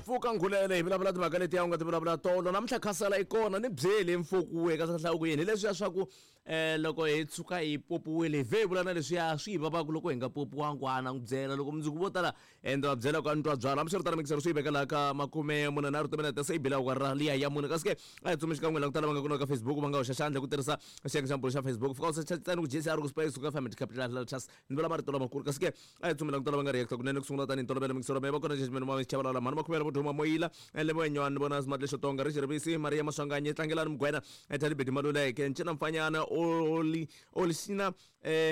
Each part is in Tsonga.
Pfuka Nkhulele hi vulavula timhaka letiya u nga ti vulavula tolo namuntlha khasela i kona ni byeli mfuku eka hlawuku yini hi leswiya swa ku um loko hi tshuka hi popiwile hi vhe hi vula na leswiya swi hi vavaka loko hi nga popiwangi a na n'wi byela loko mundzuku vo tala ende va byela ku a ni twa byala hambiswiritano mikisero swi yi veka laha ka 43 timinete se yi bile awara liya ya mune kasi ke a hi tsumi xikan'we la ku tala va nga kona ka Facebook va nga hoxa xandla ku tirhisa xiyenge xa mbulo xa Facebook fika u secha ntsena ku JCR ku space ku FM capital letters ni vula marito lamakulu kasi ke a hi tsumi la ku tala va nga react kunene ku sungula tanihi ntolovelo mikisero me va kona judgment ma chavalala mhani makhumela vo duma moyila lembe wa nyuwani ni vona smart lexo tonga Richard Rivisi Maria Maswanganyi Tlangelani Mugwena Thalibedi Maluleke Ncina Mfanyana Oli Olisina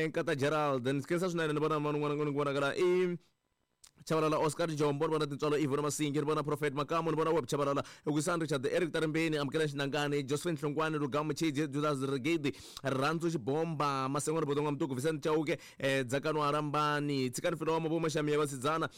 Nkata Gerald ni khensa swinene ni vona mani un'wana ni ku vonakala i Chabalala Oscar Jombo ni vona Tintswalo Ivona Masingi ni vona Prophet Makamu ni vona Web Chabalala Wisani Richard Eric Tarimbeni Amukela Xinangani Josephine Hlongwane Lugamu Chidzi Judas Rigidi Rhandzu Xibomba Masengo Riboto N'wamtuku Vincent Chauke Dzakano Arambani Tshikani Filomo vo Maxamiya Vasidzana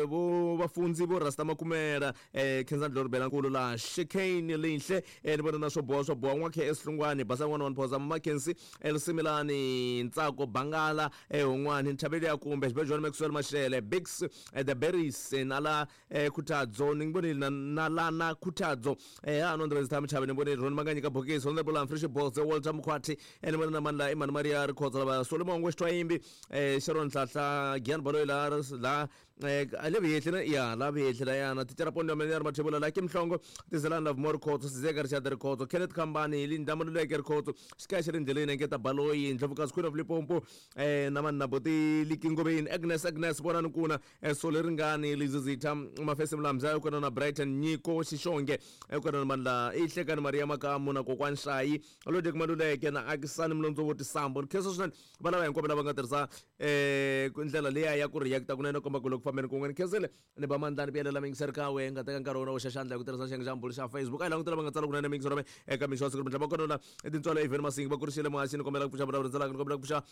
vo Vafundzi vo Rasta Makumela Khensani Dlorobela Nkulu la Shekane Linhle ni vona na swo boha swo boha N'wa KS Hlungwani Basa N'wana wa Mphoza Mackenzie Elsimilani Ntsako Bangala Hon'wani Nthaveli ya Kumbe Xibejwani Maxwell Mashele Bix The Berries Nala Khuthadzo ni vonile na Nalana Khuthadzo ha no Ndrezi Thami Chabe ni vonile Ron Manganyika Bokisi Honorable Humphrey Xibodze Walter Mkhwathi ni vona na mani la Imani Maria Rikhotso lava Solomon Ngwexitwayimbi Sharon Nhlahla Gian Baloyi la la le Vuyehli na ya la Vuyehli la yana Thicara Pondo ya ri Mathebula la Kim Mhlongo Tizelani Lovemore Rikhotso Sizeka Richard Rikhotso Kenneth Khambani Linda Maluleke Rikhotso Xikaya xi ri ndleleni Engeta Baloyi Ndlovukazi Queen of Limpopo na mani na Boti Likingoveni Agnes Agnes Vonani Kuna Soli Ringani Lizizitha Mafesi Mlamza kona na Brighton Nyiko Xixonge kona na mani la Ihlekani Maria Makamu na Kokwani Shayi Lodek Maluleke na Akisani Mlondzo wo Tisambo ni khensa swinene va lava hinkwavo lava nga tirhisa ndlela liya ya ku react kunene komba ku loko fambeni kun'we ni khensile ni ba mandla ni vuyelela mingiseri ka we nga teka nkarhi wona wo xa xandla hi ku tirhisa xiyenge xa mbulu xa Facebook a hi langutela va nga tsala kunene mingisero me eka mixo wa siku ri va kona la tintswalo even Masingi va kurisile muhaxi ni kombela ku pfuxa vulavuri ndzelaka ni kombela ku pfuxa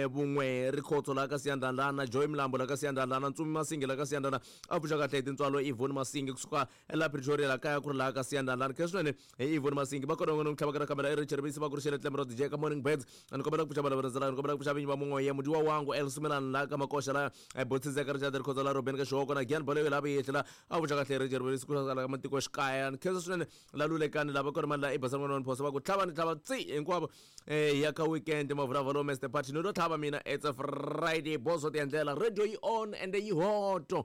vun'we Rikhotso la ka Siyandlandlana Joy Mlambo la ka Siyandlandlana Ntsumi Masingi la ka Siyandlana a pfuxa kahle hi tintswalo Yvonne Masingi kusuka la Pretoria la kaya ku ri laha ka Siyandlandlana khensa swinene hi Yvonne Masingi va kona n'wana tlhava ka kamera i Richard Bisi va kurisile Tlemro DJ ka Morning Birds ni kombela ku pfuxa vulavuri ndzelaka ni kombela ku pfuxa vinyi va mun'we mudiwa wangu Elsimelani la ka Makoxa la Botsizeka Richard Rikhotso la Robin ka Xihoko na Gian Baloyi la Vuyehli la a pfuxa kahle Richard Bisi ku la ka matiko xikaya ni khensa swinene la Lulekani lava kona mali la i Basani n'wana wa Mphosa va ku tlhava ni tlhava tsi hinkwavo ya ka weekend mavulavula Mr Party ni lo tlhava mina it's a Friday boss ti endlela radio yi on and yi hoto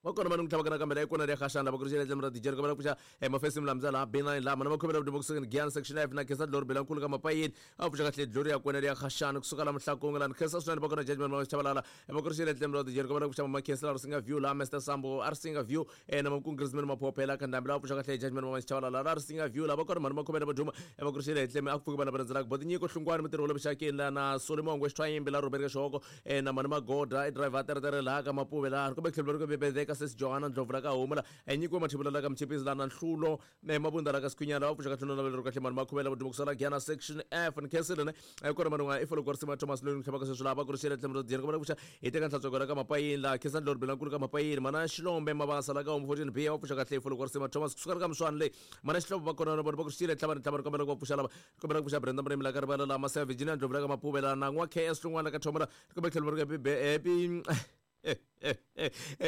va kona vanhu ku tlhava kana kambe la ikona ri khaxana va kurixela tlhelo ra DJ ka va pfuxa mafesi mlamza la B9 la mana va khomela vudimo kusuka ni Giyani section F na khensa dlori bela nkulu ka mapayeni a pfuxa kahle dlori ya kona ri ya khaxana kusuka la Mhlakunga la khensa swinene va kona judgment ma chavalala va kurixela tlhelo ra DJ ka va pfuxa mama khensa la Risinga View la Mr Sambo a Risinga View na Makungrisman Maphophela ka ndhambi la pfuxa kahle judgment ma chavalala la Risinga View la va kona mhani va khomela va duma va kurixela hi tlhelo a ku pfuki vana va rhandzelaka Botinyiko Hlungwani mutirhi wa le vuxakeni la na Solomon Ngwexithwayimbi la Robert Xihoko na mhani Magoda i driver teretere laha ka Mapuve laha kumbe tlhelo ri ku bebedeka sesi Johanna Ndlovu la ka Homu la nyikiwe Mathebula la ka Mchipisi la na Nhlulo Mabunda la ka Sikhwinyana va pfuxa ka tlhelo na kahle mhani Makhuvela va kusala Giyana section F ni khensile ne kona mhani n'wana i folo Risimu Thomas loyi ni tlhavaka sweswi laha va kurixele tlhelo ra Giyani ku va pfuxa hi teka nhlantsweko la ka Mapayini laha khensa Ndlovu Belankulu ka Mapayini mana Xilombe Mabasa la ka Homu 14 B va pfuxa kahle i folo Risimu Thomas kusuka ka Mswani leyi mana Xihlovo va kona na vona va kurixile tlhava ni tlhava ni kombela ku va pfuxa lava kombela ku pfuxa Brenda Murimi la ka Rivala la Masea Virginia Ndlovu la ka Mapuve la na n'wa KS Hlungwana la ka Thomela kumbe tlhelo ri happy happy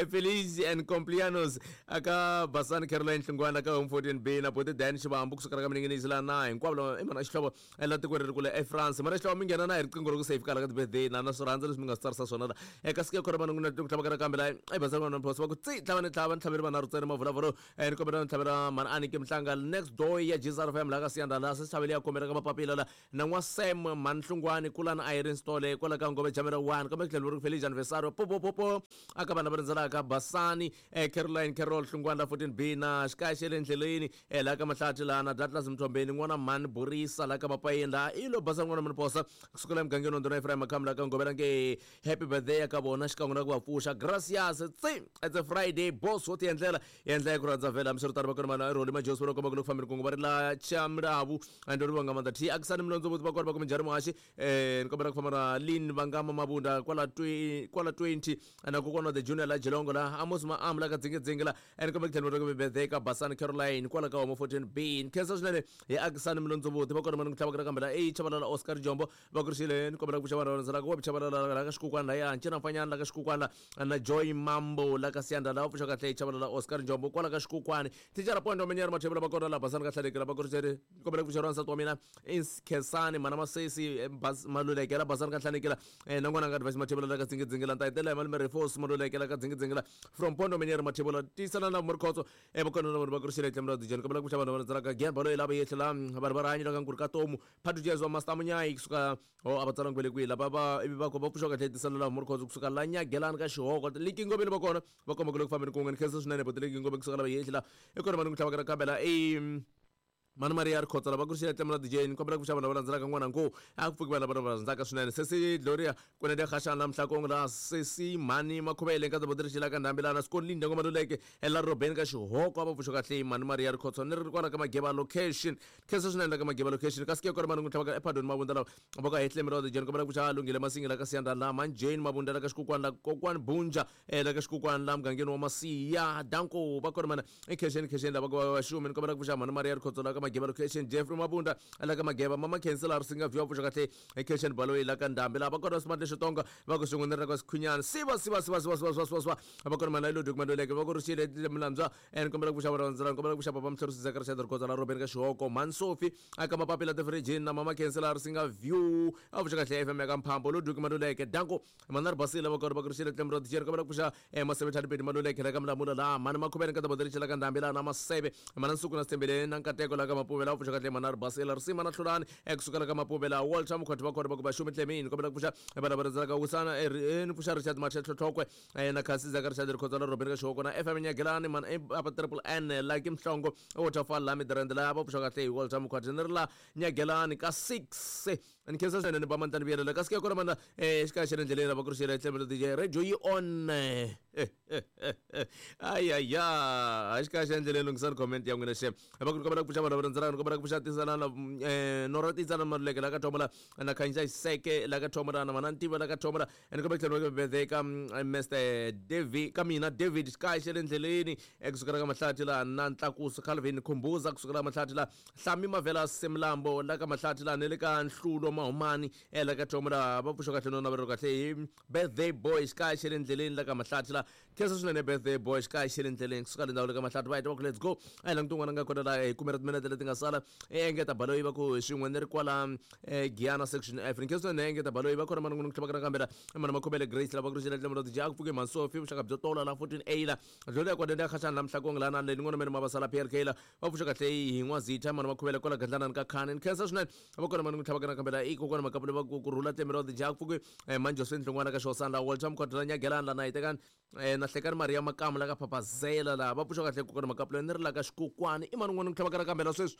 Feliz and Complianos aka Basani Caroline Hlungwana ka Home 14 B na Boti Dan Xivambu kusuka ka Mininginizi la na hinkwavo lava i mana Xihlovo la tikweni ri kule eFrance mana Xihlovo mi nghena na hi riqingho ro ku safe kala ka ti-birthday na na swi rhandza leswi mi nga swi tsarisa swona la eka sike khona vanhu ku tlhava ka nakambe la i Basani n'wana Mphosa va ku tsi tlhava ni tlhava ni tlhaveri vanharhu ntsena mavulavuro ni kombela ni tlhavela mhani Aniki Mhlanga next door ya Jesus FM la ka Siyanda la se xavele ya kombela ka mapapila la na n'wa Sam mhani Hlungwani kulani Irene Stole kwala ka Ngove Jamela 1 kambe tlhelo ri Feliz anniversario po po po po aka vanhu lava rindzelaka Basani Caroline Carol Hlungwani la 14 B na xikaya xe le ndleleni la ka Mahlathi la na Douglas Mthombeni n'wana mhani Borisa la ka Mapayeni la i lo basa n'wana mhani Posa kusukela emugangeni wa Ndhuna Ephraim Makhamu la ka Ngovela nge happy birthday ya ka vona xikan'we na ku va pfuxa gracias tsi it's a Friday boss wo ti endlela endla ya ku rhandza vhela hambiswiritano va kona mana Roli Majosi va komba ku loko fambeni kungu va ri la Chamilavu and ri vanga mandla T Akisani Mlondzo voti va kona va ku minjhani muhaxi ni kombela ku famba na Lin Vangama Mabunda kwala kwala 20 na ku Kokwana the Junior la Jilongo la Amos Maam la ka Dzingidzingi la and kumbe ku tlhela birthday ka Basani Caroline kwala ka Homo 14 B. Ni khensa swinene hi akisani Milondzovoti va kona mani ku tlhavaka nakambe la e Chabalala Oscar Jombo va kurixile ni kombela ku pfuxa vanhu va rhandzaka wa Chabalala la ka Xikukwana la ya Ncina Mfanyana la ka Xikukwana la na Joy Mambo la ka Siyanda la va pfuxa kahle Chabalala Oscar Jombo kwala ka Xikukwana Thicara Pondo Menyana Mathebula va kona la Basani ka Hlaleki la va kurixile ni kombela ku pfuxa wansati wa mina Khensani Mana Masesi Maluleke la Basani ka Hlaleki la na n'wana nga Advice Mathebula la ka Dzingidzingi la ni ta hetelela hi malume Refos Maluleke la ka Dzingidzingi la from Pondo Menyana Mathebula tiyisana na Murikhotso evokweni ra vanhu va kurixile tlhelo ra dijeni kombela ku pfuxa vanhu va rhandzelaka Gian Baloyi lava yehle la vanhu va rihanyo la ka Nkuri ka Tomu Phatu Jazz wa Master Munyayi kusuka o a va tsalangi ve le kwihi lava va ivi va va pfuxa kahle tisala la Murikhotso kusuka la Nyagelani ka Xihoko Liki Ngobeni va kona va komba ku le ku fambeni kun'we ni khensa swinene buti Liki Ngobeni kusuka lava yehle la i kona vanhu ku tlhavaka nakambe la i Mhani Mariya Rikhotso lava kurixile tlhelo ra DJ ni kombela ku pfuxa vanhu lava landzelaka n'wana ngo a ku pfuki vanhu lava va rhandzaka swinene sesi Gloria Kunene Khashana Mhlakong la sesi Mhani Makhuvele nkaza bodirixila ka ndhambi lana Scott Linda Ngomaluleke ela Robeni ka Xihoko a va pfuxa kahle Mhani Mariya Rikhotso ni ri kwala ka Mageba location khensa swinene la ka Mageba location kasi ke kona mani n'wi tlhavaka ePadoni Mabunda lava va ka Hehle Mirode Jeni kombela ku pfuxa Lunghile Masingi la ka Siyanda la Mhani Jane Mabunda la ka Xikukwana la Kokwani Bunja la ka Xikukwana la mugangeni wa Masiya Danko va kona mana ekhexeni khexeni lava va xumi ni kombela ku pfuxa Mhani Mariya Rikhotso la ka Mageba location Jeffrey Mabunda la ka Mageba Mama Khensi la Risinga View pfuxa kahle ekhexeni Baloyi la ka Ndhambi la va kona Smart Lexitonga va ku swin'we ni ri ka Sikhunyana siva siva siva siva siva siva siva siva va kona mana ilo document leke va ku rixile Mlandzwa and kombela ku pfuxa vana vandzela kombela ku pfuxa Papa Mhlorisi Zeka Richard Rikhotso la Robeni ka Xihoko Mhani Sophie aka Mapapila Tifirijini na Mama Khensi la Risinga View a pfuxa kahle FM ya ka Mphambo lo document leke Danko Mhani Ribasile va kona va ku rixile tlhelo ra Dijeri kombela ku pfuxa Maseve Thadipedi Maluleke la ka Mlamula la Mhani Makhuveni ka Taboderiche la ka Ndhambi la na Maseve Mhani Nsuku na Sithembile na Nkateko la ka Mapuve la pfuxa kahle Mhani Ribasile Risima na Hlulani ekusukela ka Mapuve la Walter Mkhwati va kona va ku va xumi Tlemini kombela ku pfuxa vana va rhandzaka Wisana ni pfuxa Richard Matshe Tlhotlhokwe na Khasi Zaka Richard Rikhotso la Robeni ka Xihoko na FM Nyagelani Mhani apa Triple N Lucky Mhlongo Waterfall la Midrand la va pfuxa kahle hi Walter Mkhwati ni ri la Nyagelani ka 6 ni khensa swinene ni ba mandla ni vuyelela kasi ke kona mana xikaya xa le ndleleni lava ku ri xela tlhelo DJ radio yi on ayaya xikaya xa ndleleni lunghisani comment ya n'wina xe va ku kombela ku pfuxa vanhu va rhandzanaka ni kombela ku pfuxa tisanana nora tisana Maluleke la ka Thomola na Khanyisa Xiseke la ka Thomola na Mana Ntiva la ka Thomola ni kombela ku tlhela birthday ka Mr David ka mina David xikaya xa le ndleleni kusukela ka Mahlathi la na Ntlakuso Calvin Khumbuza kusukela Mahlathi la Hlami Mavela Semlambo la ka Mahlathi la ni le ka Nhlulo Mahumani la ka Thomo la va pfuxa kahle no navelo kahle hi birthday boy xikaya xa le ndleleni la ka Mahlathi la khensa swinene birthday boy xikaya xa le ndleleni kusuka le ndhawu le ka Mahlathi va heta va ku let's go a hi languti un'wana nga kona la hi kumela timinete leti nga sala engeta Baloyi va ku swin'we ni ri kwala Giyana section F ni khensa swinene engeta Baloyi va kona manungu ni ku tlhavaka nakambe la mana Makhomele Grace la va ku ri xela tlhelo ra ku pfuke Mhansofi vuxaka byo tola la 14 A la dlolo ya kona ya khashana la Mhlakong la na le nin'wana mene mavasala PLK la va pfuxa kahle hi N'wazitha mani Makhuvele kwala Gandlanani ka Khani ni khensa swinene va kona mani n'wi tlhavaka nakambe la i kokwana Makapule va ku rhula tlembe ra dija ku pfuke mani Josephine Hlongwana ka Xihosana la Walter Mkhwatho la Nyagelani la na hitekani na Hlekani Maria Makamu la ka Phaphazela la va pfuxa kahle kokwana Makapule ni ri la ka Xikokwani i mani n'wana n'wi tlhavaka nakambe la sweswi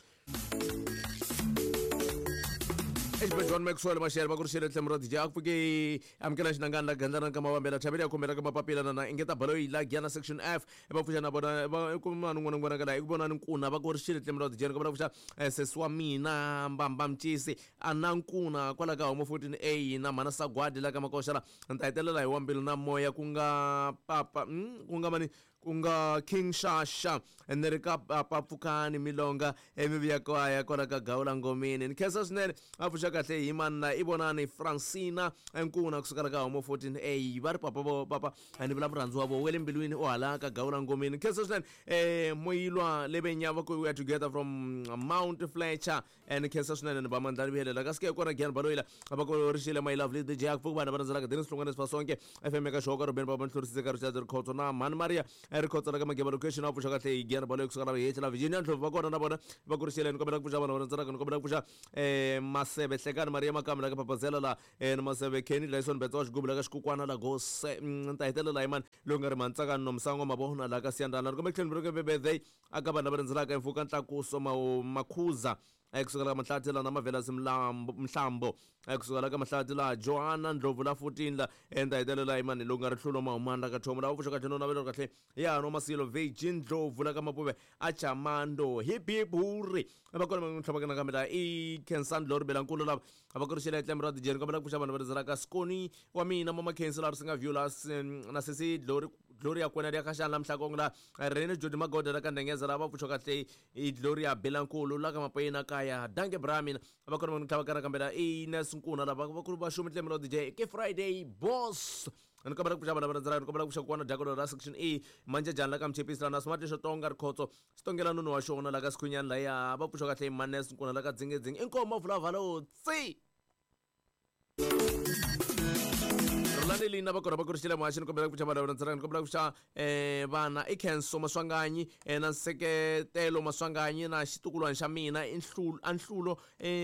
Exibedhlele Maxwell Mashele va ku ri xele tlhelo ra DJ a ku pfuke amukela xinangani la gandlana ka mavambela chaveli ya khumbela ka mapapila na na engeta baloyi la Giyana section F va pfuxa na vona va ku mani n'wana n'wana ka la i ku vona ni nkuna va ku ri xele tlhelo ra DJ ka va pfuxa sesi wa mina Mbamba Mcisi a na nkuna kwala ka Homo 14 A na mhana Sagwadi la ka Makoxa la ni ta hetelela hi wa mbilu na moya ku nga papa ku nga mani ku nga King Shasha ni ri ka Papa Pfukani Milonga emivuya kaya kwala ka Gawula Ngomeni ni khensa swinene a pfuxa kahle hi manna i vonani Francina Nkuna kusukela ka Homo 14 A va ri papa vo papa ni vula murhandzi wa vo wele mbilwini u hala ka Gawula Ngomeni ni khensa swinene Moyilwa Lebenya va ku we are together from Mount Fletcher ni khensa swinene ni ba mandla ni vuyelela kasi ke kona Gian Baloyi la va ku rixile my lovely DJ a ku pfuki vanhu va rhandzelaka Dennis Hlongwane Sifasonke FM eka Xoka Ruben Baba Nhlorisize ka Richard Rikhotso na Mhani Maria Rikhotso la ka Mageba location a pfuxa kahle hi Gian Baloyi kusuka la Hehla la Virginia Ndlovu va kona na vona va ku rixile ni kombela ku pfuxa vanhu va rhandzelaka ni kombela ku pfuxa Maseve Hlekani Maria Makamu la ka Papazela la ni Maseve Kenny Dyson Betsa wa xigubu la ka Xikukwana la Gose ni ta hetelela hi mani loyi nga ri Mantsakani Nomsango Mabona la ka Siyandana ni kombela tlhelo ni birthday aka vanhu lava rhendzelaka Mfuka Ntlakuso Makhuza. Kusuka la ka Mahlathi la na Mavelasi Mhlambo kusuka la ka Mahlathi la Johanna Ndlovu la 14 la enda hetelela hi mani lowu nga ri hlulo mahumani la ka Thomo la pfuxa kahle no navelo kahle ya no Masilo Virgin Ndlovu la ka Mapuve a Chamando hip hip hurri va kona va tlhava kana kambe la i Khensan Lori Belankulu lava a va kurixela etlembe ra dijeni kombela ku pfuxa vanhu va rizela ka Skoni wa mina Mama Khensi la ri singa view la na sesi Glory Gloria Kwena ya Khashana la Mhlakong la Rene Jodi Magoda la ka Ndengeza la va pfuxa kahle i Gloria Belankulu la ka Mapayena kaya Danke Bramina va kona va tlhava kana kambe la i Nes Nkuna lava va kulu va xumi tlembe ra DJ ke Friday boss ni kombela ku pfuxa vanhu va rhandzela ni kombela ku pfuxa kokwana Dakolo ra section E Manjajani la ka Mchepisi la na Smart Xotonga Rikhotso Xitongela nunu wa xona la ka Sikhunyani laya va pfuxa kahle Manes Nkuna la ka Dzingedzing inkomo vulavalo tsi Rhulani Lina va kona va kurixile muhaxi ni kombela ku pfuxa vanhu va rhandzela ni kombela ku pfuxa vana i Khenso Maswanganyi na Nseketelo Maswanganyi na xitukulwana xa mina i Anhlulo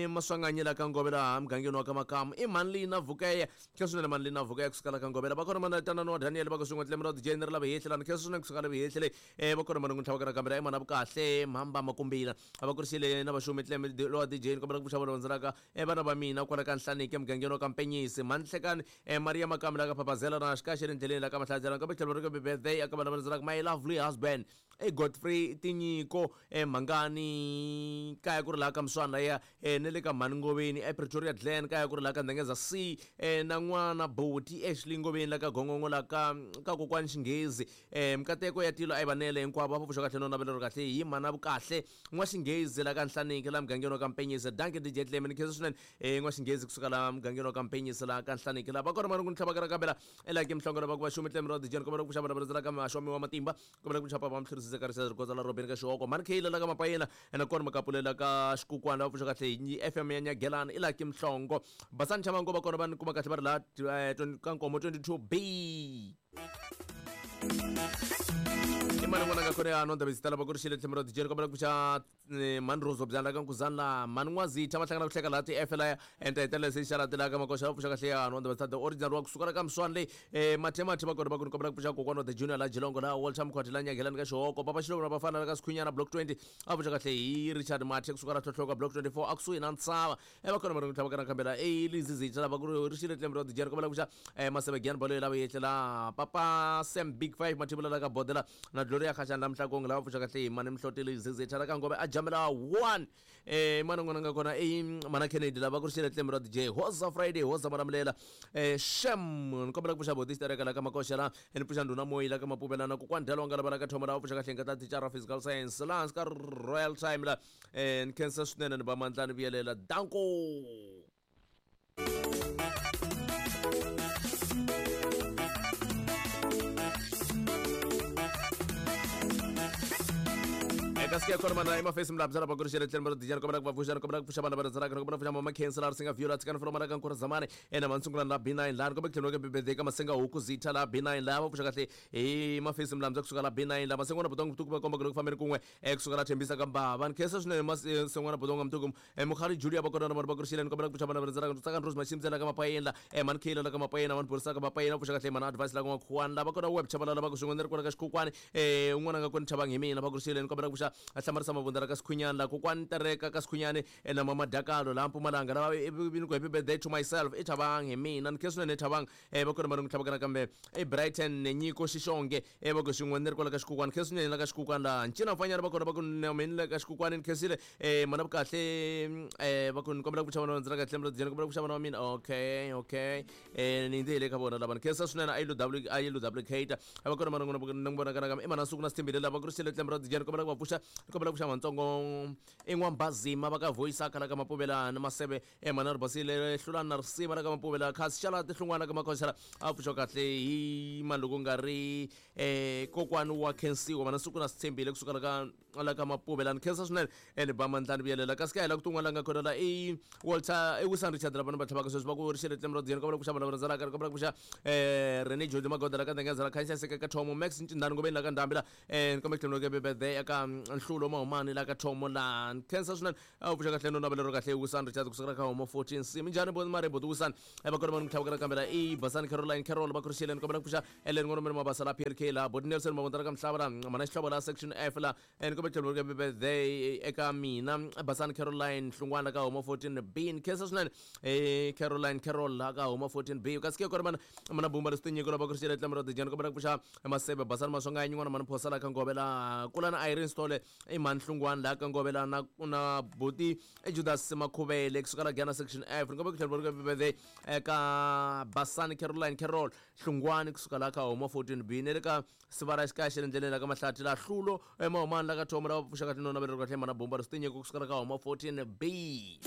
Maswanganyi la ka Ngove laha mugangeni wa ka Makamu i mhani Lina Vukeya khensa swinene mhani Lina Vukeya kusuka la ka Ngovela va kona mana tanani wa Daniel va ku swin'we tlemi ra DJ ni ri lava hehli lani khensa swinene kusuka la hehli leyi va kona mana n'wi tlhava kana kambe la i mana vukahle mhamba makumbila a va kurixile na vaxumi tlemi lowa DJ ni kombela ku pfuxa vanhu vandzalaka vana va mina kwala ka Nhlaniki emugangeni wa ka Mpenyisi mhani Nhlekani Maria Makamu la ka Phaphazela na xikaxe le ndleleni la ka Mahlatsela kambe tlhelo ri ka birthday aka vana va rhandzalaka my lovely husband e Godfrey Tinyiko Mhangani kaya ku ri laha ka Mswana ya ne le ka Mhani Ngoveni ePretoria Glen kaya ku ri laha ka Ndengeza C na n'wana Boti Ashley Ngoveni la ka Gongongo la ka ka kokwani Xinghezi mikateko ya tilo a yi vanele hinkwavo va pfuxa kahle no navelo ri kahle hi mhana vukahle N'wa-Xinghezi la ka Nhlaniki la mugangeni wa ka Mpenyisi dankie DJ Clem ni khensa swinene N'wa-Xinghezi kusuka la mugangeni wa ka Mpenyisi la ka Nhlaniki la va kona mani ku ni tlhava ka kambela elaki mhlongo lava ku va xumi Clem ra DJ ni kombela ku xava lava la ka Maxomi wa matimba kombela ku chapa va mhlurisi ka risa rikotsa la Robin ka Xihoko mani Kheyila la ka Mapayela ena kona makapulela ka Xikukwana va pfuxa kahle hi FM ya Nyagelani i laki Mhlongo Basani Chamango va kona va ni kuma kahle va ri la ka Nkomo 22B i mani n'wana nga kona ya nonda vizitala va ku ri xile tlhelo ra DJ kombela ku pfuxa mhani Rose byala ka Nkuzani la mhani N'wazitha va hlangana ku hleka laha ti-F laya enta hetelela se xa latela ka makoxa va pfuxa kahle ya nonda vizitala the original wa kusuka la ka Mswani leyi Mathemathe va kona va ku ni kombela ku pfuxa kokwana wa the junior la Jilongo la Walter Mkhwati la Nyagelani ka Xihoko Papa Xilovo na Bafana la ka Sikhunyana block 20 a pfuxa kahle hi Richard Mathe kusuka la Tlhotlhoka block 24 a kusuhi na Ntshava va kona va ri tlhava kana kambela i lizizitha lava ku ri xile tlembe ra dijeri kombela ku xa maseve giyani balo lava yetlela papa Sam Big Five mathibula la ka bodela na Gloria Khashani la Mhlakong lava pfuxa kahle hi mani Mhloti lizizitha la ka Ngove a jamela 1 mana n'wana nga kona i mana Kennedy lava ku ri xile tlembe ra DJ Hoza Friday Hoza Malamlela Shem ni kombela ku pfuxa boti xitereka la ka Makoxa la ni pfuxa ndhuna Moyi la ka Mapuvela na kokwani Dyalonga lava la ka Thoma lava pfuxa kahle nga ta thicara physical science la hansi ka Royal Time la ni khensa swinene ni ba mandla ni vuyelela danko. Eka siku ya kona mana emafesi mlabza lava ku ri xele tlhelo ra dijani kombela ku va pfuxa kombela ku pfuxa vana va rhandzaka kombela ku pfuxa mama Khensa la ri singa view la tshikani folo mara ka nkura zamani ena mansungula la B9 la kombela ku tlhelo ka bebede ka masenga huku zitha la B9 la va pfuxa kahle hi mafesi mlabza kusuka la B9 la masengwana botong butuku va komba ku loko fambeni kun'we kusuka la Thembisa ka Mbava ni khensa swinene masengwana botong mtuku mukhari Julia va kona na vanhu va ku ri xileni kombela ku pfuxa vana va rhandzaka tsaka Rose Mashimtsela ka Mapayeni la mani Kheyila la ka Mapayeni mani Borisa ka Mapayeni va pfuxa kahle mana advice la ka N'wakhuwani la va kona web chavalala va ku swin'we ni ri kona ka Xikhukwani un'wana nga kona chavang hi mina va ku ri xileni kombela ku pfuxa hlamarisa mavunda la ka Sikhunyani la kokwani Tereka ka Sikhunyani na mama Dakalo la Mpumalanga lava ni ku happy birthday to myself i Thabang hi mina ni khensa swinene Thabang va kona va ri n'wi tlhavaka nakambe i Brighton Nyiko Xixonge va ku swin'we ni ri kwala ka Xikhukwani khensa swinene la ka Xikhukwani laha Ncina Mfanyana va kona va ku na mina le ka Xikhukwani ni khensile mana vukahle va ku ni kombela ku pfuxa vana va ndzi ra kahle ni kombela ku pfuxa vana va mina okay okay ni ndzi hi le ka vona lava ni khensa swinene a yi lo w a yi lo duplicate a va kona mana n'wina ni vona kana i mana suku na sithembile lava ku ri xile tlembe ra dijani kombela ku va pfuxa ni kombela ku pfuxa matsongo i n'wambazima va ka voice a khala ka mapuvela ni maseve mana ri basile hlulani na risiva la ka mapuvela khasi xala tihlungwana ka makhosela a pfuxa kahle hi mani loko nga ri kokwani wa khensiwa mana suku na sithembile kusuka la ka la ka mapuvela ni khensa swinene ni ba mandla ni vuyelela kasi ka hela ku tin'wana la nga kona la i Walter i Wilson Richard lava ni va tlhavaka sweswi va ku ri xile tlembe ra dijani kombela ku pfuxa vana va rhandzalaka kombela ku pfuxa Rene Jodi Magoda la ka Ndengeza la Khanyisa Seka ka Thomo Max Ncindani Ngobeni la ka Ndhambi la ni kombela ku tlhela birthday eka Hlulo Mahumani la ka Thomo la khensa swinene a wu pfuxa kahle no navelo ro kahle Wisani Richard kusukela ka Homo 14 C minjhani bo mare boti Wisani va kona vanhu tlhavukela kambe la i Basani Caroline Carol va kurixeleni kombela ku pfuxa Ellen Ngolomeni Mabasa la PLK la boti Nelson Mavondzela ka Mhlava la mana Xihlovo la section F la ni kombela tlhelo ro birthday eka mina Basani Caroline Hlungwana ka Homo 14 B ni khensa swinene Caroline Carol la ka Homo 14 B kasi ke kona mana mana bumba leswi tinyiko lava kurixele tlamelo dijani kombela ku pfuxa Masebe Basani Maswanganyi n'wana mani Phosa la ka Ngove la kula na Irene Stole i mhani Hlungwani la ka Ngove la na na buti Judas Makhuvele kusuka la Giyani section F ni kombela ku tlhela ro birthday eka Basani Caroline Carol Hlungwani kusuka la ka Homo 14 B ne le ka Sivara xikaya xa le ndleleni la ka Mahlathi la Hlulo eMahumani la ka Thomo lava pfuxaka tinona va leri kahle mana bomba ri swi tinyiko kusuka la ka Homo 14 B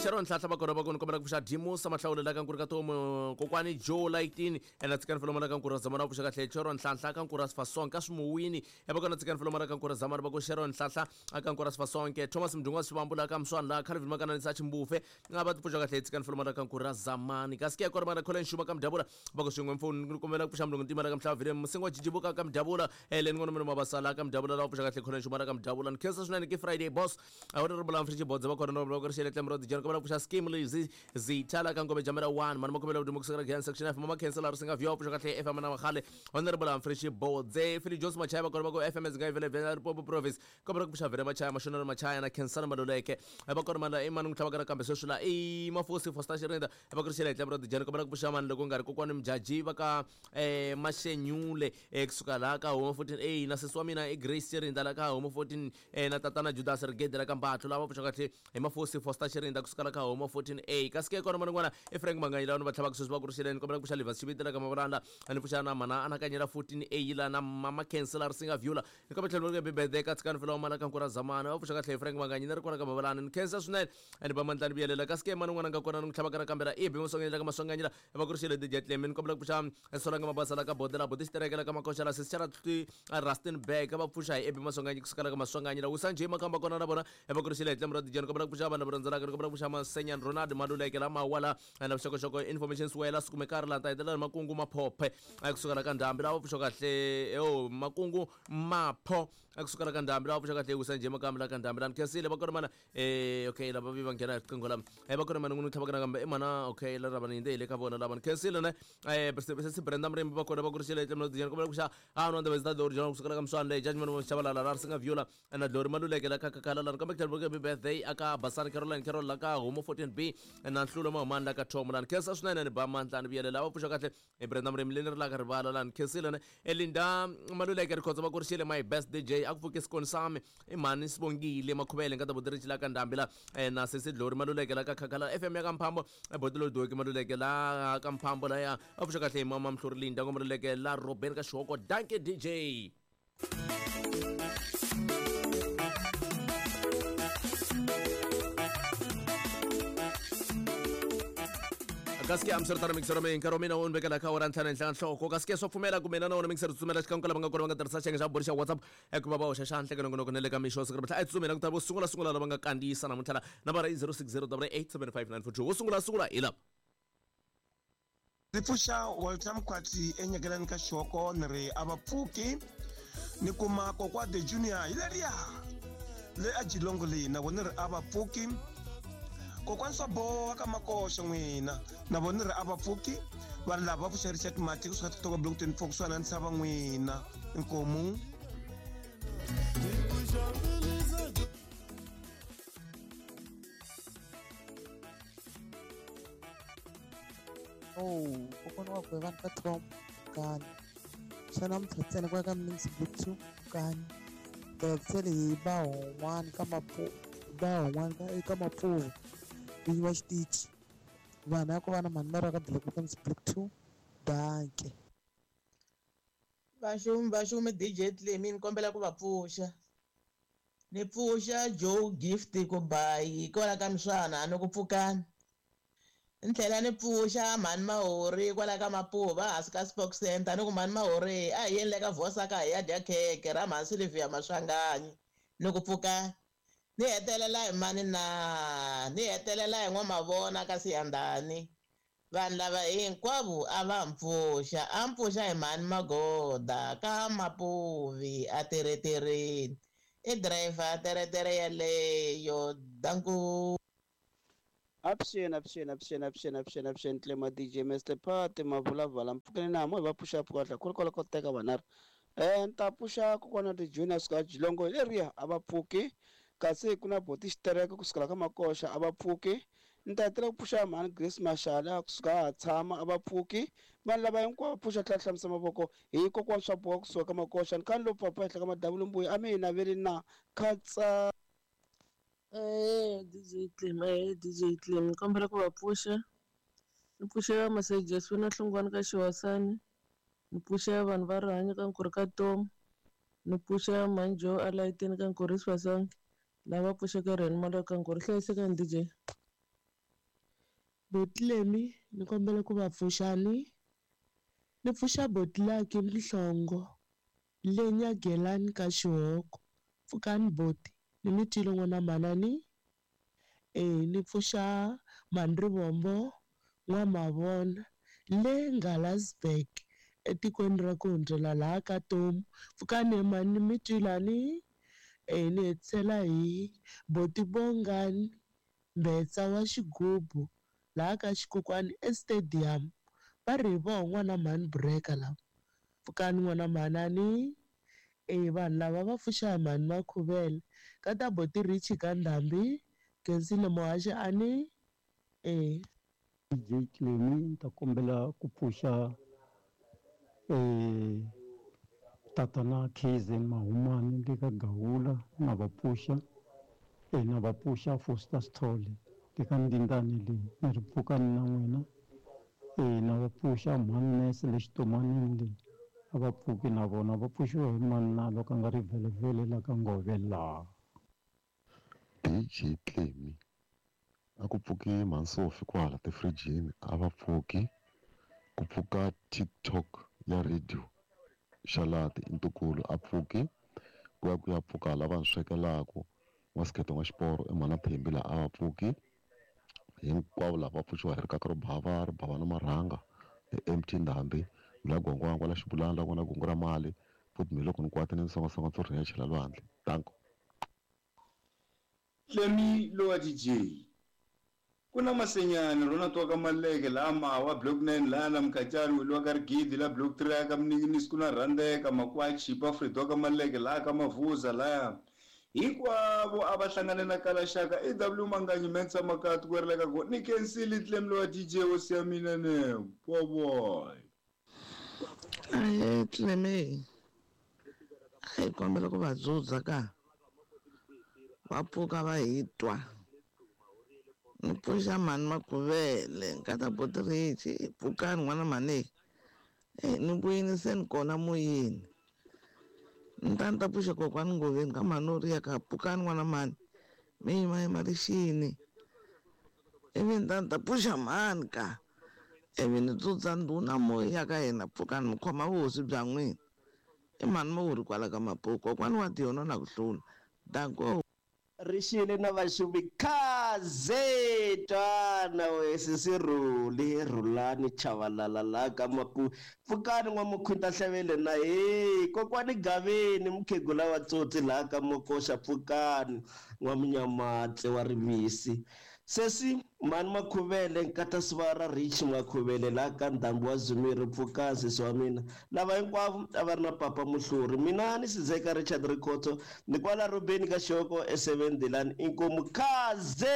Sharon Nhlahla va kona va kona kombela ku pfuxa Dimusa Mahlawule la ka Nkuri ka Tomu kokwani Joe Lightini ena tsikani feloma la ka Nkuri Zamana va pfuxa kahle Sharon Nhlahla ka Nkuri Sifasonke ka Swimuwini ya va kona tsikani feloma la ka Nkuri Zamana va ku Sharon Nhlahla ka Nkuri Sifasonke Thomas Mdungwa Sivambu la ka Mswana la Calvin Makananisa Chimbufe nga va tipfuxa kahle tsikani feloma la ka Nkuri Zamani kasi ke kona mana Colin Shuma ka Mdabula va ku swin'we mfoni ni kombela ku pfuxa mulungu ntima la ka Mhlava Vile Musingo Jijibuka ka Mdabula Ellen Ngwana Mino Mabasa la ka Mdabula la va pfuxa kahle Colin Shuma la ka Mdabula ni khensa swinene ke Friday boss a wu ri Mfriji Bodze va kona va ku ri xele tlemro dijani kombela ku pfuxa scheme lezi zitha la ka Ngome Jamela 1 mani makombela ku duma kusukela Giyani section F mama khensa la ri singa vyo pfuxa kahle FM na Makhale honorable Humphrey Bodze Philly Jones Machaya va kona va ku FM zinga vele vele Limpopo province kombela ku pfuxa Vele Machaya Mashonelo Machaya na Khensani Maluleke va kona mana i mani n'wi tlhavaka kambe sweswi la i Mafosi Foster Xirinda va ku ri xele tlemro dijani kombela ku pfuxa mani loko nga ri kokwani Mjaji va ka Mashenyule kusuka la ka Home 14 A na sesi wa mina i Grace Xirinda la ka Home 14 na tatana Judas Rigede la ka Mbatlo lava pfuxa kahle hi Mafosi Foster Xirinda kusuka la ka Home 14 A kasi ke kona man'wana i Frank Manganyi lava va tlhavaka sweswi va ku ri xeleni kombela ku pfuxa Livas Xiviti la ka Mavulanda ni pfuxa na mana anakanyela 14 A la na mama Khensa la Risinga Viola ni kombela tlhelo ri bibede ka tsikani fela wa mala ka Nkura Zamana va pfuxa kahle hi Frank Manganyi ni ri kona ka Mavalana ni khensa swinene ni ba mandlani vuyelela kasi ke mani n'wana nga kona ni n'wi tlhavaka na kambela i bi Maswanganyi la ka Maswanganyi la va ku ri xele DJ Clem ni kombela ku pfuxa Solanga Mabasa la ka Bodela Bodi Xitereke la ka Makoxa la Sisi Rustenburg va pfuxa hi Ebi Maswanganyi kusuka la ka Maswanganyi la Wisa Njhe Makamba kona na vona va ku ri xele Clem ra DJ ni kombela ku pfuxa vanhu va rhandzelaka ni kombela ku pfuxa Masenyan Ronald Maluleke la Mawala na vuxokoxoko information Swela Sikumekari la ta hetelela Makungu Maphophe kusuka la ka Ndhambi lava pfuxa kahle o Makungu Mapho kusuka la ka Ndhambi lava pfuxa kahle Wisa Njhe Makamba la ka Ndhambi la ni khensile va kona mana okay lava vi va nghena hi riqingho lama va kona mana n'wini tlhavaka nakambe i mana okay la rava ni yinde hi le ka vona lava ni khensile ne sesi Brenda Mrimbi va kona va ku ri xele Clem Dijani kombela ku xa a no ndaba zita original kusuka la ka Mswana le judgment wa Shabalala la Risinga Viola na Glory Maluleke la ka Kakhala la kambe tlhelo ka birthday aka Basani Caroline Carol la ka Homo 14 B na Nhlulo Mahumani la ka Tom la ni khensa swinene ni ba mandla ni vuyelela va pfuxa kahle hi Brenda Mrimbi le ni ri la ka rivala la ni khensile ne Elinda Maluleke Rikhotso va ku ri xele my best DJ a ku pfuke sikoni sami i mhani Sibongile Makhuvele nga ta boti la ka Ndhambi la na sesi Glory Maluleke la ka Khakhala FM ya ka Mphambo boti lo Doki Maluleke la ka Mphambo la ya a pfuxa kahle hi mama Mhluri Linda ngo Maluleke la Robert ka Xihoko danke DJ. Kasi amswiritano mixero mi nkarhi wa mina wu ni vekela ka awara ntlhanu henhla ka nhloko kasi ke swa pfumela ku mina na wona mixero tsutsumela xikan'we lava nga kona va nga tirhisa xiyenge xa vumbirhi xa WhatsApp ku va va hoxa xandla eka nongonoko na le ka mixo siku ra a hi tsutsumela ku ta vo sungula sungula lava nga kandziyisa namuntlha la nambara i 060 875 wo sungula sungula hi lava. Ndzi pfuxa Walter Mkhwatsi enyekelani ka Xihoko ni ri a va pfuki ni kuma kokwa the junior hi leriya le a Jilongo leyi na vona ni ri a va pfuki kokwani swa boha ka Makoxa n'wina na vona ni ri a va pfuki vanhu lava va pfuxa Richard Mati kusuka Titoka Block 24 kusuhana na Ntshava n'wina inkomu. Oh, kokwana wa Gwevani ka Tom Kani. Xa namuntlha ntsena ku ya ka Mnisi Block 2 Kani. Tirhisele hi ba hon'wana ka mapu ba hon'wana ka eka Mapfuvu vinyi va xitichi. Vanhu ya ku va na mhani va ka Block ka Mnisi Block 2 danke. Vaxumi vaxumi DJ Clemi ni kombela ku va pfuxa. Ni pfuxa Joe Gift ku bayi kwala ka Mswana ni ku pfukani. Ni tlhela ni pfuxa mhani Mahori kwala ka Mapuva hansi ka Spock Center ni ku mhani Mahori a hi yeni le ka Vosa ka hi ya dya khekhe ra mhani Sylvia Maswanganyi ni ku pfukani. Ni hetelela hi mani na ni hetelela hi N'wamavona ka Siyandhani. Vanhu lava hinkwavo a va mpfuxa, a mpfuxa hi mhani Magoda ka Mapuvi a teretereni. I driver teretere yeleyo. Danko. Avuxeni, avuxeni, avuxeni, avuxeni, avuxeni, avuxeni, Tlema DJ Mr Pat Mavulavala mpfukeni na mo hi va pfuxa pfuka khulu ko teka vanharhu. Ni ta pfuxa kokwana ti Junior suka Jilongo hi leriya a va pfuki, kasi ku na boti xitereka kusukela ka Makoxa a va pfuki. Ni ta hetelela ku pfuxa mhani Grace Mashala kusuka ha tshama a va pfuki. Vanhu lava hinkwavo pfuxa tlhela hlamusa mavoko hi kokwana swa boha kusuka ka Makoxa. Ni kha ni lo pfapfa henhla ka madavula mbuya a mi hi naveli na khatsa. DJ Clem, DJ Clem, ni kombela ku va pfuxa. Ni pfuxa Masejesu na Hlungwani ka Xihosani. Ni pfuxa vanhu va rihanyo ka Nkurhu ka Tomu. Ni pfuxa Manjo a layitini ka Nkurhu Sibasonke. Lava pfuxeke Rheni Maloya ka Nkurhu. Hlayisekani DJ. Botlemi ni kombela ku va pfuxani. Ni pfuxa Botlaki Mhlongo le Nyagelani ka Xihoko. Pfukani boti, ni mi twile n'wana manani. Ni pfuxa Mhani Rivombo N'wamavona le Ngalasberg etikweni ra ku hundzela laha ka Tomu. Pfukani he mhani, ni mi twile ni. Ni hetisela hi Boti Bongani Mbetsa wa Xigubu laha ka Xikokwani eStadium. Va ri hi voho n'wana mhani Bureka lava. Pfukani n'wana mhanani. Vanhu lava va pfuxa hi mhani Makhuvele. Ka ta Boti Richie ka Ndhambi, Khensile Muhaxi ani. DJ Clemi ni ta kombela ku pfuxa tatana Khezen Mahumani le ka Gawula na va pfuxa na va pfuxa Foster Sithole le ka Ndindani leyi ni ri pfukani na n'wina na va pfuxa mhani Nese le Xitomanini leyi a va pfuki na vona va pfuxiwa hi mani na loko a nga ri vhelevhele la ka Ngove laha. DJ Clemi a ku pfuki mhani kwala tifirijini a va pfuki, ku pfuka TikTok ya radio Xalati i ntukulu a pfuki, ku ya ku ya pfuka lava ni swekelaku n'wasikete n'wa xiporo i mhana Thembi laha a va pfuki. Hinkwavo lava va pfuxiwa hi rikaka ro bava ri bava na marhanga MT Ndhambi la Gwangwangwa la Xibulana la n'wana gungu ra mali futhi mi loko ni kwata ni songasonga ndzi rhiya chela lwandle. Danko. Clemi lowa DJ ku na Masenyani rona twa ka Maleke laha Mawa block 9 laha na Mkhatshani weliwa ka Rigidi la block 3 ka Mninginisi ku na Rhandeka Makwa Chipa Fredo ka Maleke laha ka Mavuza laya hinkwavo a va hlangane na Kalaxaka EW Manganyi Mensa Makati ku ri ka go ni khensile Clemi lowa DJ hosi ya mina ne boboy. Clemi a hi kombela ku va dzudza ka va pfuka va hi twa. Ni pfuxa mhani Makhuvele nkata Boti Richie pfukani n'wana mhani ni vuyini se ni kona moyeni. Ni ta ni ta pfuxa kokwani Ngoveni ka mhani Oriya ka pfukani n'wana mhani mi yima yima rixini. Ivi ni ta ni ta pfuxa mhani ka ivi ni dzudza ndhuna moya ya ka yena pfukani mi khoma vuhosi bya n'wina. I mhani Mawuri kwala ka Mapuku kokwani wa Tiyono na ku hlula. Danko. Rixile na vaxuvi khaze twana we sisi Rhuli Rhulani Chavalala la ka Mapu pfukani n'wamukhwita hlevele na he kokwani Gaveni mukhegula wa tsotsi laha ka Makoxa pfukani n'wamunyamatse wa rivisi sesi mhani Makhuvele nkata Sivara Rich Makhuvele laha ka Ndhambi wa Zumiri pfukani sesi wa mina lava hinkwavo a va ri na papa Muhluri mina ni Sizeka Richard Rikhotso ni kwala Robeni ka Xihoko e7 Delani inkomu khaze.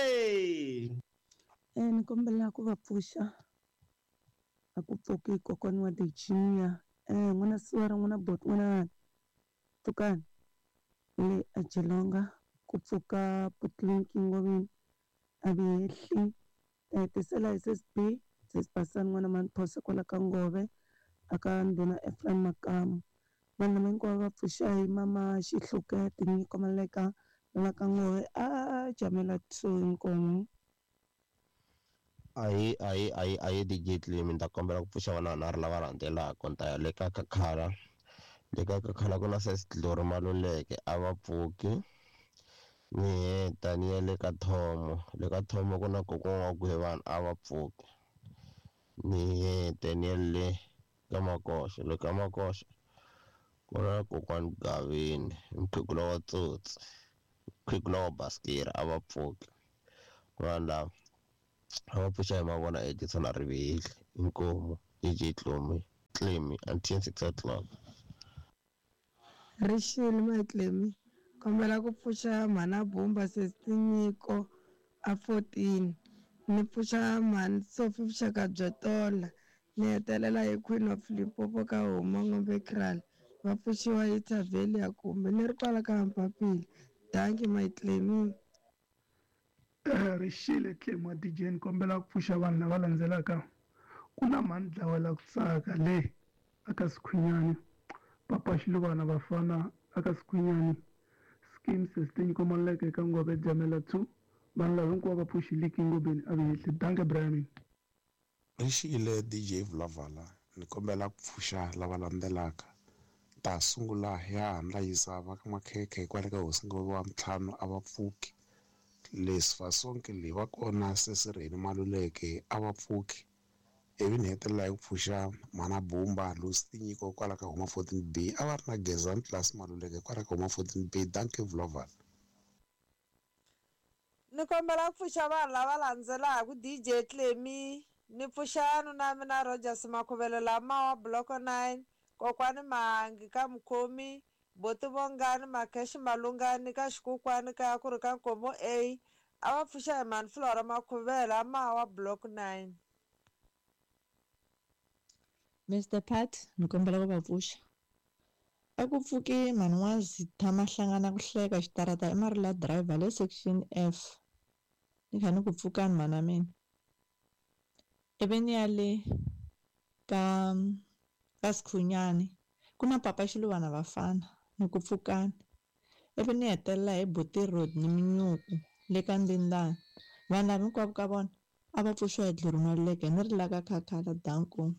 Ni kombela ku va pfuxa a ku pfuki kokwani wa Virginia n'wana Siwara n'wana Bot n'wana pfukani le a Jilonga ku pfuka Putlinki Ngoveni a vi hehli hetisela hi SSB sesibasani n'wana Manphosa kwala ka Ngove aka ndhuna Ephraim Makamu vanhu lava hinkwavo va pfuxa hi mama Xihluke Tinyiko Maleka la ka Ngove a Jamela 2 inkomu. Ahi DJ Clemi ni ta kombela ku pfuxa vana vanharhu lava landzelaka ni ta ya le ka Kakhala le ka Kakhala ku na Sis Glory Maluleke a va pfuki ni heta ni ya le ka Thomo le ka Thomo ku na kokwana wa Gwevana a va pfuki. Ni hete ni ya le ka Makoxa, le ka Makoxa ku na kokwani Gavini, mukhegula wa Tsotsi, mukhegula wa Basikiri a va pfuki. Vanhu lava a va pfuxa hi mavona Edison a rivihli inkomu DJ Tlomi Tlemi until 6 o'clock. Rixile Matlemi kombela ku pfuxa mhana Bumba sesi Nyiko a 14 ni pfuxa mhani Sophie vuxaka bya tola ni hetelela hi Queen of Limpopo ka Huma Ngombe Kraal va pfuxiwa hi Thavelia kumbe ni ri kwala ka Mpapile dankie Matlemi. Rixile Tlemi wa DJ ni kombela ku pfuxa vanhu lava landzelaka ku na mhani dlawela ku tsaka le aka Sikhwinyani papa Xiluvana vafana aka Sikhwinyani scheme sestinyi komaleke eka Ngove Jamela 2 vanhu lava hinkwavo va pfuxi liki ngobeni a vihehli danke Brian. Rixile DJ Vulavala ni kombela ku pfuxa lava landzelaka ta sungula ya handlayisa va ka makhekhe kwale ka hosi Ngove wa ntlhanu a va pfuki leswi fasonke leyi va kona sesirheni Maluleke a va pfuki ivi ni hetelela hi ku pfuxa mhana Bumba Lucy Tinyiko kwala ka Huma 14B a va ri na Gezani Class Maluleke kwala ka Huma 14B dankie Vulavala. Ni kombela ku pfuxa vanhu lava landzelaka DJ Tlemi ni pfuxa nuna mina Rogers Makhuvele lamawa Block 9 kokwani Mahangi ka Mukhomi Boti Vongani Makheshi Malungani ka Xikukwani ka ku ri ka Nkomo A a va pfuxa hi mhani Flora Makhuvele amawa Block 9. Mr Pat ni kombela ku va pfuxa a ku pfuki mhani N'wazitha Mahlangana ku hleka xitarata i Marula driver le section F ni kha ni ku pfukani mhana mina ivi ni ya le ka ka Sikhunyani ku na papa Xiluvana vafana ni ku pfukani ivi ni hetelela hi Buti Road ni Minyuku le ka Ndindani vanhu lava hinkwavo ka vona a va pfuxiwa hi Dluru Maluleke ni ri la ka Khakhala danko.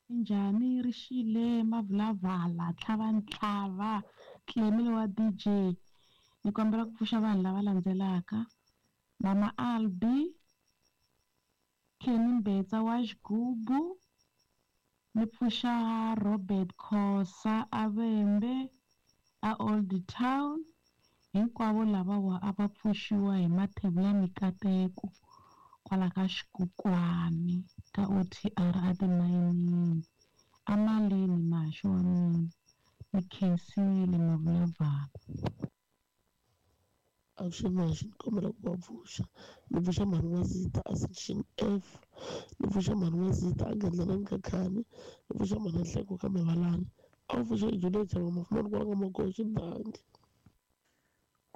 Njhani Rixile Mavulavala tlhava ntlhava Tlemile wa DJ ni kombela ku pfuxa vanhu lava landzelaka Mama Albi Kenny Mbetsa wa Xigubu ni pfuxa Robert Khosa Avembe a Old Town hinkwavo lavawa a va pfuxiwa hi Mathebula Mikateko kwala ka Xikukwani ka OTR a timayinini amalini maxo wa mina ni khensile Mavulavala. Avuxeni maxi ni kombela ku va pfuxa ni pfuxa mhani N'wazita a section F ni pfuxa mhani N'wazita a Gandlelani ka Khani ni pfuxa mhani Nhleko ka Mevalani a wu pfuxa Juliet Chava Mafumani kwala ka Magoxo dankie.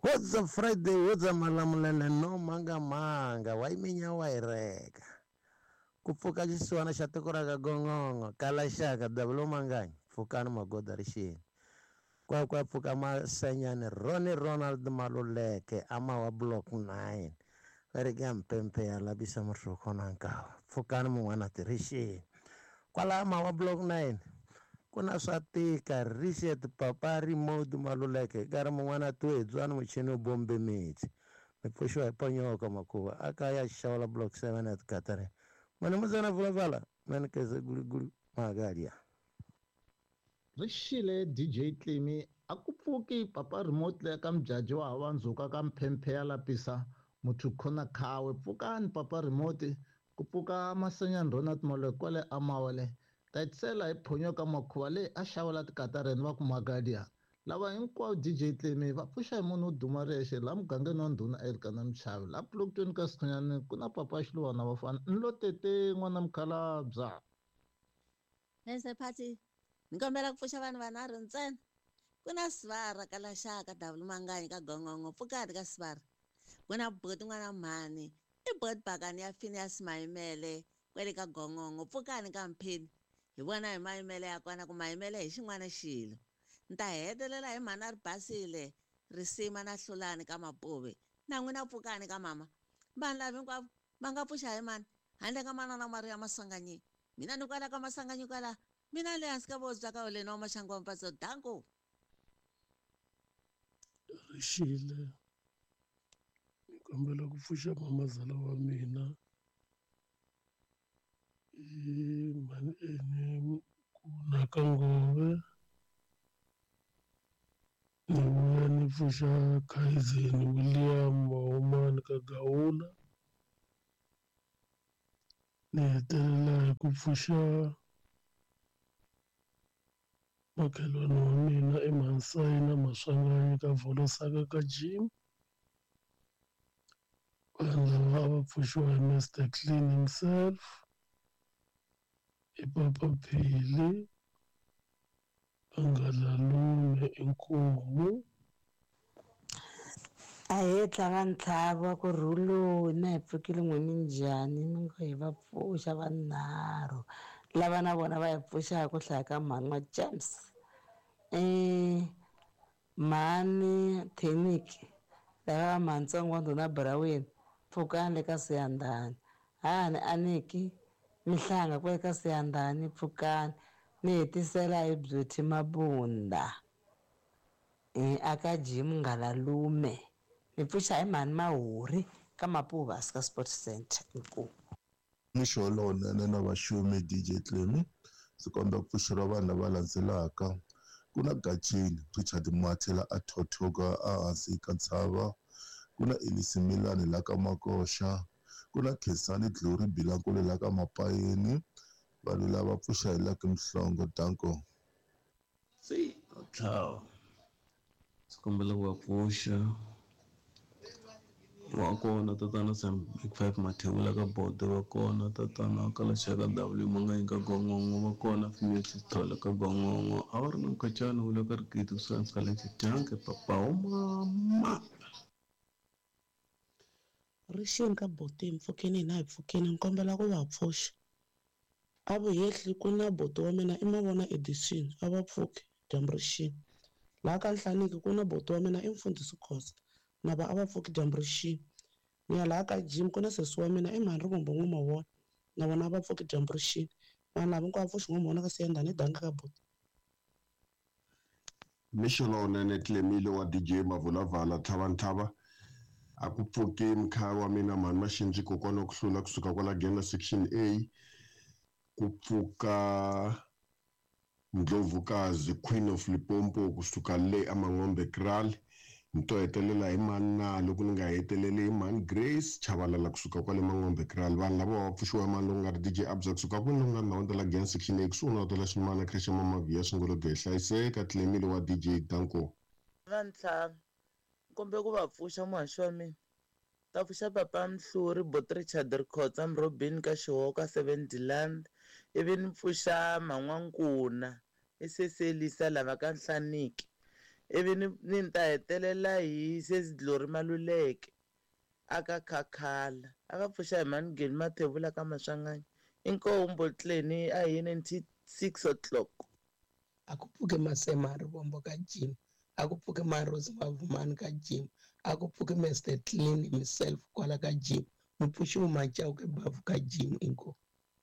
What's up Friday, what's up Malamulele, no manga manga, wa iminya wa ireka. Ku pfuka xisiwana xa tiko ra ka Gongongo, kala xaka double manganyi, pfukani magoda rixini. Kwa kwa pfuka Masenyani, Ronnie Ronald Maluleke, ama wa Block 9. Va ri ka mpempe ya labisa muhloko na nkawa. Pfukani mun'wana tirixini. Kwala ama wa Block 9. Ku na swa tika Richard Papa Remote Maluleke nkarhi mun'wana tuedzwani muchini wu bombe metsi mi pfuxiwa hi ponyoka makuva a kaya xawula Block 7 at Katare mani mutsana vulavala mani keze gulugulu magalia. Rixile DJ Tlemi a ku pfuki Papa Remote le ka mjaji wa hava ndzhuka ka mphemphe ya lapisa muthu khona khawe pfukani Papa Remote ku pfuka Masenyani Ronald Maluleke kwale amawale tatisela hi phonyo ka makhuva leyi a xavela tikatareni va ku magadia lava hinkwavo DJ Tlemi va pfuxa hi munhu wo duma rexe laha mugangeni wa ndhuna Elkana Mchavi laha Block ka Sikhunyani ku na papa Xiluvana vafana ni lo tete n'wana mukhalabya. Mr Pati ni kombela ku pfuxa vanhu vanharhu ntsena ku na Sivara ka Laxaka double manganyi ka Gongongo pfukani ka Sivara ku na Boti n'wana mhani i Boti Bakani ya Phineas Mayimele kwele ka Gongongo pfukani ka Mphini hi vona hi mayimele ya kona ku mayimele hi xin'wana xilo ni ta hetelela hi mhana ri basile risima na hlulani ka Mapuve na n'wina pfukani ka mama vanhu lava hinkwavo va nga pfuxa hi mani handle ka manana Maria Masanganyi mina ni kwala ka Masanganyi kwala mina le hansi ka vobya ka oleni wa maxangu wa mpatso danko. Rixile ni kombela ku pfuxa mamazala wa mina I mhani ene kuna ka ngove. Ni vuya ni pfuxa Kaizen William Mahumani ka Gawula. Ni hetelela hi ku pfuxa makhelwani wa mina eMhansayina Maswanganyi ka Volosaka ka Jim. Vanhu lava a va pfuxiwa hi Mr Clean himself, i Papa Phili, Angalalume inkomu. Ahee tlhava ntlhava ku rhuloni na hi pfukile n'we minjhani mi ngo hi va pfuxa vanharhu lava na vona va hi pfuxaka ku hlaya ka mhani wa James mhani Theniki lava va mhantsongo wa ndhuna Buraweni pfukani le ka Siyandhani hahani Aniki Mihlanga kwale ka Siyandhani pfukani ni hetisela hi Beauty Mabunda aka Jim Ngalalume ni pfuxa hi mhani Mahuri ka Mapuvasi ka Sports Center inkomu. Mixo lowunene na vaxumi DJ Clemy ndzi kombela ku pfuxeriwa vanhu lava landzelaka ku na Gacheni Richard Mathela a thothoka ehansi ka ntshava ku na Elisi Milani la ka Makoxa ku na Khensani Glory Bilankulu la ka Mapayeni vanhu lava pfuxa hi Lucky Mhlongo danko. Se tlhava ndzi kombela ku va pfuxa wa kona tatana Sam Big Five Mathebula ka Bode wa kona tatana Kalaxaka W Manganyi ka Gongongo wa kona Female Sithole ka Gongongo a va ri na Mkhacani wu le ka Rigidi kusuhani ka Lexi Janke papa wa mama. Rixeni ka Boteni mpfukeni hina hi pfukeni ni kombela ku va pfuxa a vuhehli ku na boti wa mina i mavona edition a va pfuki dyambu rixini laha ka Nhlaniki ku na boti wa mina i mfundhisi Khosa na va a va pfuki dyambu rixini ni ya laha ka Jim ku na sesi wa mina i mhani Rivombo N'wamavona na vona a va pfuki dyambu rixini vanhu lava hinkwavo pfuxi N'wamavona ka Siyandhani danga ka boti. Mixo lowunene Clemile wa DJ Mavulavala Tlhavantlhava a ku pfuki mkhaya wa mina mhani Maxindzi kokwana ku hlula kusuka kwala Gena section A ku pfuka Ndlovukazi Queen of Limpopo kusuka le aMangombe Kraal ni to hetelela hi mani na loko ni nga heteleli hi mani Grace Chabalala kusuka kwale Mangombe Kraal vanhu lava va pfuxiwa mani loko nga ri DJ Abza kusuka kwini loko nga ndhawu ta la Gena section A kusuhi na hotela Ximana Christian Mamaviya Swingologwe hlayiseka Clemile wa DJ Danko. Vantlhanu kumbe ku va pfuxa muhaxi wa mina ta pfuxa papa Mhluri Bot Richard Rikhotsa Mrobini ka Xihoka Seven Deland ivi ni pfuxa Man'wankuna i Seselisa lava ka Nhlaniki ivi ni ta hetelela hi Sesi Glory Maluleke aka Khakhala a va pfuxa hi Manigeni Mathebula ka Maswanganyi inkomu Botleni a hi 96 o'clock. A ku pfuke Masema Rivombo ka Jim a ku pfuke Marosi Mavumani ka Jim a ku pfuke Mr Clean himself kwala ka Jim mupfuxi Machauke Bavu ka Jim inkomu.